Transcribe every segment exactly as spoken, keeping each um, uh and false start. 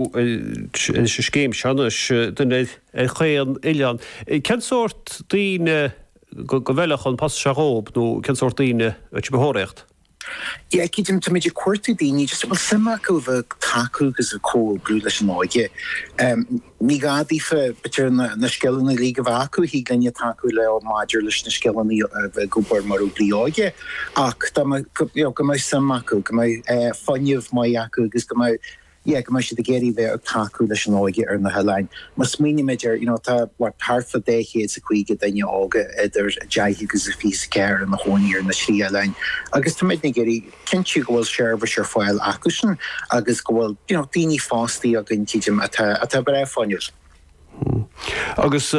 Leis an scéim seo anois, duine ar chaon oileán. Cén sórt daoine go bhfeilfeadh an post seo dhóib nó cén sórt daoine a bheadh sibh a thóraíocht? Yeah, cídím, táimid ag cuartú daoine just a bhfuil suim acu a bheith ag tacú agus ag comhoibriú leis an óige. Ní gá daofa, b'fhéidir, na scileanna uilig a bheith acu, thig linne tacú leo maidir leis na scileanna a bheith ag obair mar oibrí óige, ach dá mbeadh, you know, go mbeadh suim acu, go mbeadh fuinneamh maith acu agus go mbeadh yeah, go mbeidh siad ag iarraidh bheith ag tacú leis an óige ar na hoileáin. Má smaoinímid ar, you know, tá, what, thart fá dhá chéad is a caoga duine óga idir deich agus a fiche is a ceathair ina chónaí ar na trí oileáin agus táimidne ag iarraidh cinntiú go bhfuil seirbhís ar fáil acusan agus go bhfuil, you know, daoine fostaithe againn, tchídim, atá, atá breá fuinniúil. Agus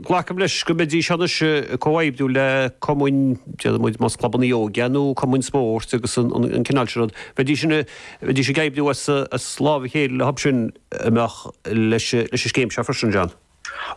glacaim leis go mbeidís anois ag comhoibriú le cumainn, déarfaidh muid, más clubanna óige nó cumainn spóirt agus an cineál sin rud, bheidís bheidís ag oibriú as as lámh a chéile leo sin a mbeadh leis leis an scéim seo freisin, John.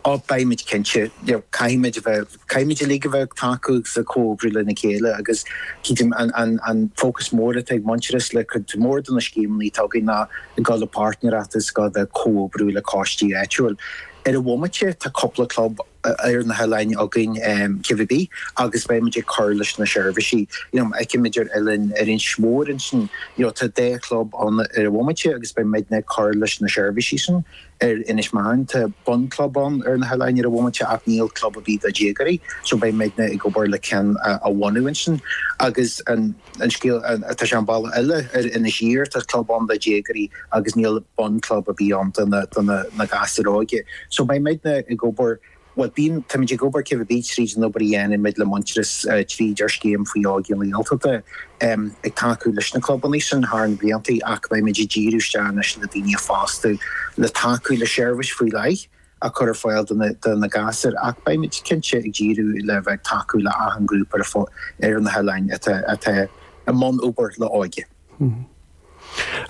Ó, beimid cinnte. Caithfimid a bheith, caithfimid uilig a bheith ag tacú agus ag comhoibriú lena chéile agus cídim an an an fócas mór atá ag Muintearas le cuid mhór de na scéimeanna atá againn ná ag dul le páirtnéireacht agus ag dul a bheith ag comhoibriú le coistí áitiúil. Ar an bhomaite, tá cúpla club ar na hoileáin againn cibé agus beimid ag cur leis na seirbhísí. You know, feicimid ar oileán ar Inis Mór ansin, you know, tá dhá chlub ann ar an bhomaite agus beimidne ag cur leis na seirbhísí sin. Ar Inis Meáin, tá bunchlub ann ar na hoileáin ar an bhomaite ach níl club ar bith do dhéagóirí, so beimidne ag obair le ceann a bhunú ansin. Agus an an scéal, tá sé an bealach eile, ar Inis Oírr tá club ann do dhéagóirí agus níl bunchlub ar bith ann do na do na na gasúir óige. So beimidne ag obair, bhuel bíonn, táimid ag obair cibé tríd an obair a dhéanaimid le Muintearas tríd ár scéim faoi Óige na Gaeltachta ag tacú leis na clubanna sin thar na blianta ach beimid ag díriú isteach anois le daoine a fhostú le tacú le seirbhís faoi leith a chur ar fáil do na do na gasúir ach beimid cinnte ag díriú le bheith ag tacú le achan grúpa ar ar na hoileáin atá atá i mbun obair le óige.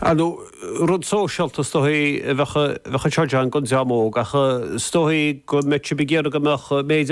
Ar ndóigh, rud sóisialta is dóichí a bheadh anseo, John, don dream óg, ach is dóichí go mbeadh sibh ag iarraidh go mbeadh méid